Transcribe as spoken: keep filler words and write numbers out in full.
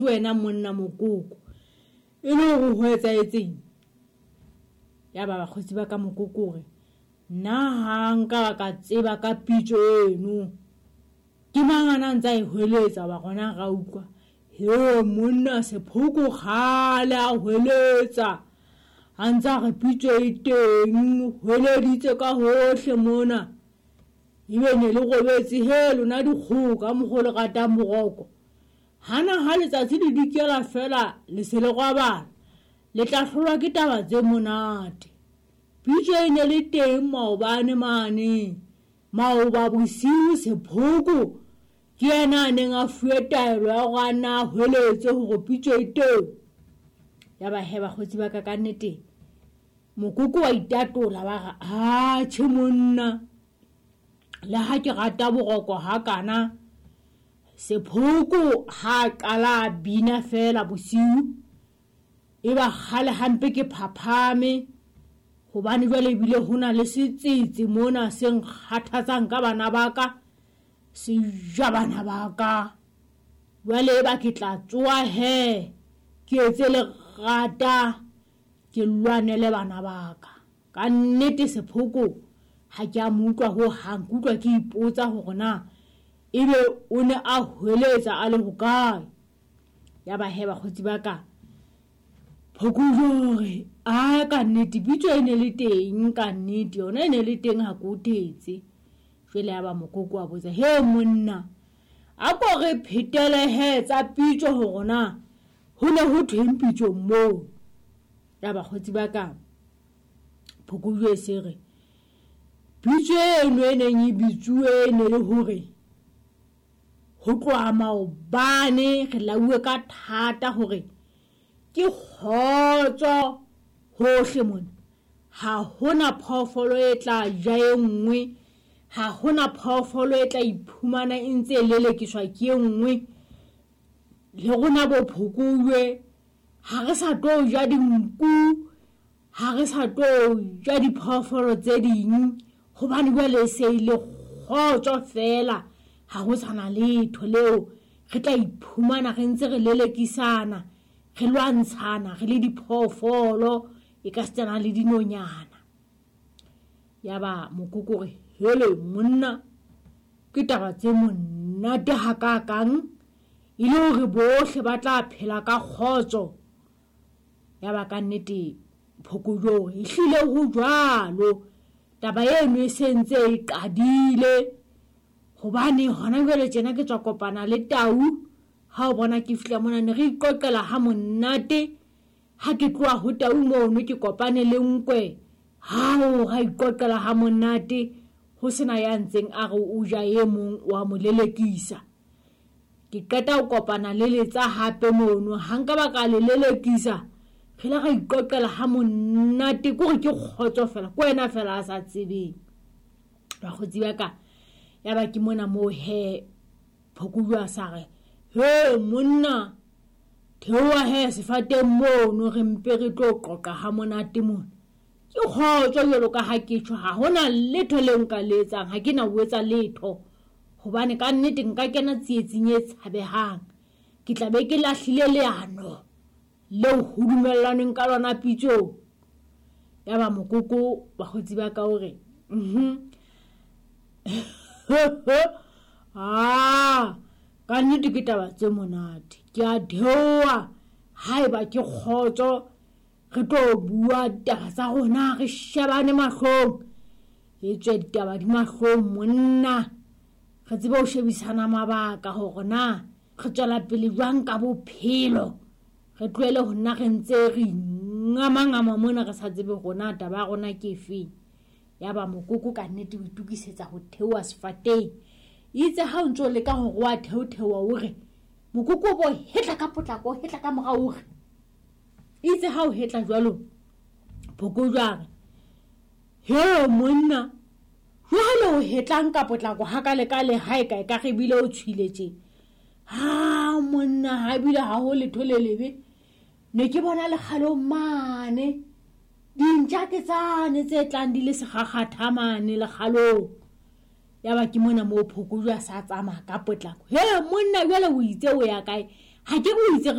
Wena monna Mokoko, e le hore ho etsahetseng? Ya ba bakgotsi ba ka, Mokoko o re, nna ha nka ba ka tseba ka pitso eno, ke mang a na ntse a e hweletsa? Wa rona ra utlwa he monna Sephoko kgale a hweletsa, a ntse a re pitso e teng, hweleditse ka hohle mona. Ebe ne le robetse he lona dikgoho ka mokgwa o le ratang boroko. Hana ha letsatsi le dikela fela le se le robala, le tla hlolwa ke taba tse monate. Pitso e ne le teng maobane mane, maoba bosiu. Sephoko ke yena a neng a fuwe taelo ya hore a nna a hweletse hore pitso e teng. Ya ba he bakgotsi ba ka, ka nnete Mokoko wa itatola, ba re atjhe monna, le ha ke rata boroko hakana, Sephoko ha qala a bina fela bosiu, e ba kgale hampe ke phaphame, hobane jwale ebile ho na le setsetse mona se nkgathatsang ka bana ba ka, se ja bana ba ka. Jwale e ba ke tla tsoha he, ke etse lerata, ke lwanele bana ba ka. Ka nnete Sephoko ha ke a mo utlwa hohang, ke utlwa ke ipotsa hore na ebe o ne a hweletsa a le hokae. Ya ba he bakgotsi ba ka, Phokojwe hore a ka nnete pitso e ne le teng, ka nnete yona e ne le teng, ha ke o thetse. Jwale ya ba Mokoko wa botsa, he monna, a ko re phetele he tsa pitso hore na ho ne ho thweng pitsong moo. Ya bakgotsi ba ka, Phokojwe se re pitso eno e neng e bitsuwe e ne le hore ho tloha maobane re lauwe ka thata hore ke kgotso hohle mona, ha hona phoofolo e tla ja e nngwe, ha hona phoofolo e tla iphumana e ntse e lelekiswa ke e nngwe. Le rona bo Phokojwe ha re sa tlo ja dinku, ha re sa tlo ja diphoofolo tse ding, hobane jwale e se e le kgotso fela, ha ho sana letho leo re tla iphumana re ntse re lelekisana, re lwantshana re le diphoofolo, e ka setsana le dinonyana. Ya ba Mokoko re, hele monna, ke taba tse monate hakakang, e le hore bohle ba tla phela ka kgotso. Ya ba ka nnete Phokojwe o re, ehlile ho jwalo, taba eno e se ntse e qadile, hobane hona jwale tjena ke tswa kopana le tau. Ha o bona ke fihla mona ne re iqoqela ha monate, ha ke tloha ho tau mono ke kopane le nkwe, hao ra iqoqela ha monate, ho sena ya ntseng a re o ja e mong wa mo lelekisa. Ke qeta ho kopana le letsa hape mono, ha nka ba ka le lelekisa, re la ra iqoqela ha monate, ke hore ke kgotso fela, ke wena fela a sa tsebeng. Bakgotsi ba ka, ya ba ke mona moo he Phokojwe a sa re, he monna, theoha he sefateng mono, re mpe re tlo qoqa ha monate mona. Ke kgotso jwalo ka ha ke tjho, ha hona letho leo nka le etsang, ha ke na ho etsa letho, hobane ka nnete nka kena tsietsing e tshabehang, ke tla be ke lahlile leano leo ho dumellanweng ka lona pitsong. Ya ba Mokoko bakgotsi ba ka o re, mhm, ah, ka nnete ke taba tse monate, ke a theoha, haeba ke kgotso, re tlo bua ditaba tsa rona, re shebane mahlong, e tswe ditaba di mahlong monna, re tsebe ho shebisana mabaka hore na re tswela pele jwang ka bophelo, re tlohele ho nna re ntse re ngamangama mona re sa tsebe hore na taba ya rona ke efeng. Ya ba Mokoko ka nnete o itokisetsa ho theoha sefateng. Itse ha o ntso leka hore wa theotheoha, o re Mokoko bo hetla ka potlako, hetla ka morao, o re itse ha o hetla jwalo, Phokojwe a re, he monna, jwale o hetlang ka potlako hakalekale ha e ka e ka re bile o tshwile tje. Ha monna, ha ebile ha ho letho le lebe, ne ke bona lekgalong mane dintja ke tsane tse tlang di le sekgakgatha mane lekgalong. Ya ba ke mona moo Phokojwe a sa tsamaya ka potlako. He monna, jwale o itse o ya kae? Ha ke o itse